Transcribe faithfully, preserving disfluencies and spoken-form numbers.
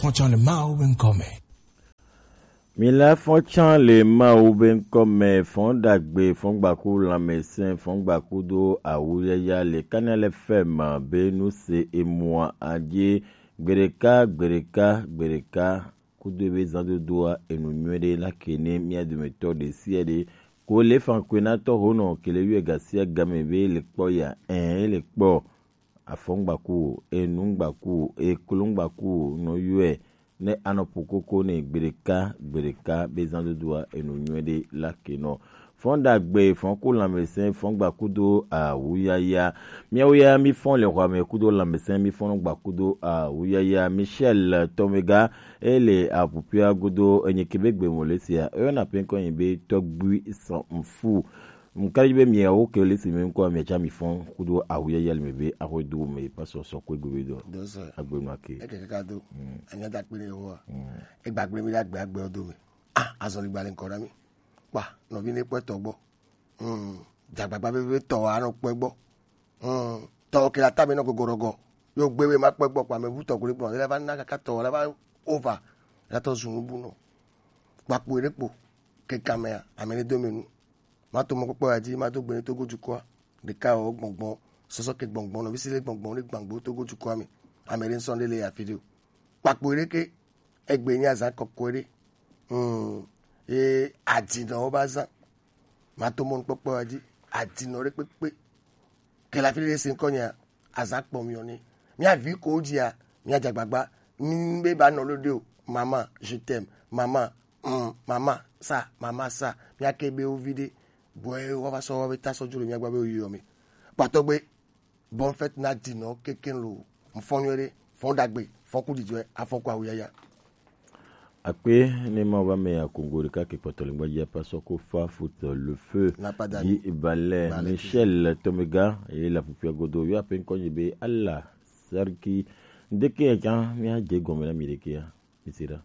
Fɔtsɔ le Mawu be ŋkɔ me. Mila fɔtsɔ le Mawu be ŋkɔ me, fɔn dagbe, fɔn gbaku lãmesẽ, fɔn gbaku do awuyaya le kanya le fɛ ma be nu se emua adie gbeɖeka, gbeɖeka, gbeɖeka, kudo ebe zãdodoa enu nyuie ɖe la ke ne mia dometɔ ɖe sia ɖe. Ko le fan koe na tɔ honɔ kele yue gasia game be le kpɔ ya, ɛ, le kpɔ. Afɔŋgbaku, enungbaku, eklungbaku, nɔ yɔe, ne anɔ ƒo koko ne gbeɖeka, gbeɖeka be zãdodoa enu nyuie ɖe la ke nɔ. Fɔn dagbe, fɔn ku lãmesẽ, fɔn gbakudo awuyaya. Miawo ya mi fɔn le xɔa me kudo lãmesẽ, mi fɔn gbakudo awuyaya. Michel Tomega, ele apupia godo enye kebe gbe mo le sia. Eyɔna pe ŋkɔ nyi be tɔgbui sɔn fu. Ŋka yi be miawo ke le si me ŋkɔ mia tsa mi fɔn kudo awu yaya le me be axwe do me pa sɔsɔ kue gobe do. Do sɔ. Agbe nua ke. Eke kaka do. Mm. Anya da kpe ne wo. Mm. Egba gbe mi da gbe agbe do me. Ah, azɔli gba le ŋkɔ na mi. Kpa, nɔvi ne kpɔe tɔ gbɔ. Mm. Dzagbagba veve tɔ wa nɔ kpɔe gbɔ. Mm. Tɔ ke la ta me nɔ gogorɔgɔ. Yo gbe be ma kpɔe gbɔ kpa me vu tɔ gole kpɔ. Le va na kaka tɔ la va over. La tɔ zunu bu nɔ. Kpakpo ɖe kpo. Keka mea, ame ɖe do me nu. Mato mɔkpɔkpɔ ya dzi, mado gbe ne Togo dukɔa. Ɖeka wɔ gbɔngbɔn, sɔsɔ ke gbɔngbɔn, nɔvi si le gbɔngbɔn, ne gbãgbo Togo dukɔa me. Ame ɖe ŋsɔ ɖe le afi ɖe o. Kpakpo ɖe ke, egbe nye azã kɔkɔe ɖe. Hmm. Ye adinɔwo va zã. Mato mɔnukpɔkpɔ ya dzi, adinɔ ɖe kpekpe. Ke le afi ɖe se ŋkɔ nyea, azã kpɔ miɔ ne. Mia vi ko dzia, mia dze agbagba. Mi be ba nɔ lo de o. Maman, je t'aime. Maman, mm, maman, ça, maman, ça. Mia ke be wo vi ɖe. Bɔe wa va sɔ wa be ta sɔ dzo le mia gba be wo yɔ mi. Kpatɔ gbe, bonne fête na dinɔ keke lo. Mfɔ nyuie ɖe, fɔ dagbe, fɔ ku didɔe, afɔ ku awuyaya. Akpe ne ma va me ya kongo ɖeka ke kpɔtɔ le ŋgba dzi apa sɔ ko fa foot le feu. N'a pas d'ami. Yi balɛ Balɛ Michel Tomega ye la pupia godo yo ape ŋkɔ nyi be ala sarki. Ndeke ya dza mi a dze gɔme na mi ɖeke ya. Mi si ɖa.